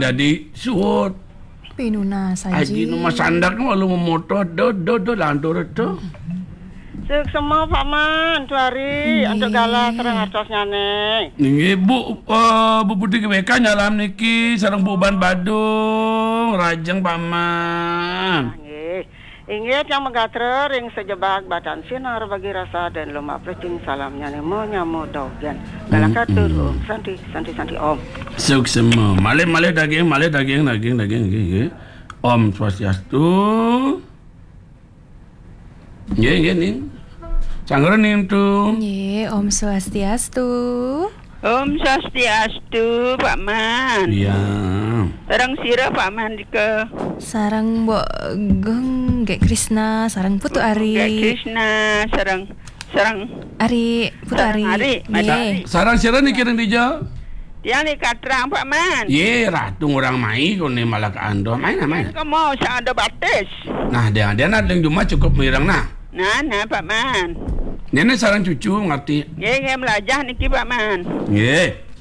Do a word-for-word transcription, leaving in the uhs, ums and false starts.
Dadi suud. Pinunas, Aji. Aji nu masandak nu lalu mamoto, do, do, do, lantur to. Suksma, Pak Man, tu hari, antuk gala sareng artosnyané. Inggih, Bu, eh, Bu Putri G W K nyalam niki, sareng Bu Uban Badung, rajeng Pak Man. Inggih. Inggih tiang magatra ring sajebag batan sinar bagi rasa dan lumak plecing salamnyané manyama dogén. Galakatur, Om Santi, Santi, Santi, Om. Suksma. Malih, malih daging, malih daging, daging, daging, nggih, nggih. Om Swastiastu. Nggih, nggih, Ning. Sanggra Ning tu. Nggih, Om Swastiastu. Om Swastiastu, Pak Man. Iya. Sareng sira, Pak Man, dika? Sareng Mbok Gung, Gék Krisna, sareng Putu Ari. Gék Krisna, sareng, sareng Ari, Putu Ari. Sareng Ari, Mas Ari. Nggih. Sareng sira niki ring dija? Tiang nika katrang, Pak Man. Yé, Ratu ngurang mai, koné malah kaanduh. Mai nah, mai nah. Kemo sing ada batis. Nah, dia, dia nah ring jumah cukup mireng nah. Nah, nah, Pak Man. Néné sareng cucu ngerti. Nggih, nggih, melajah niki, Pak Man. Nggih.